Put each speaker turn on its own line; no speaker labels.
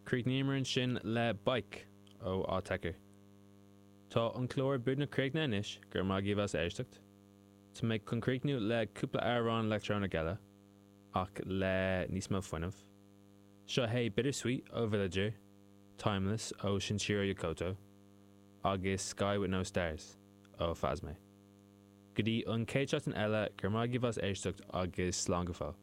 Chríochnaíomar ansin le Bike ó Autechre. Tá an clár beagnach críochnaithe anois, go raibh maith agaibh as éisteacht. Tá mé chun críochnú le cúpla amhrán leictreonach eile, ach le níos mó fuinnimh. Seo é Bittersweet ó Villager, Timeless ó Shinichiro Yokota, agus Sky With No Stars ó Phasme. Go dtí an chéad seachtain eile, go raibh maith agaibh as éisteacht agus slán go fóill.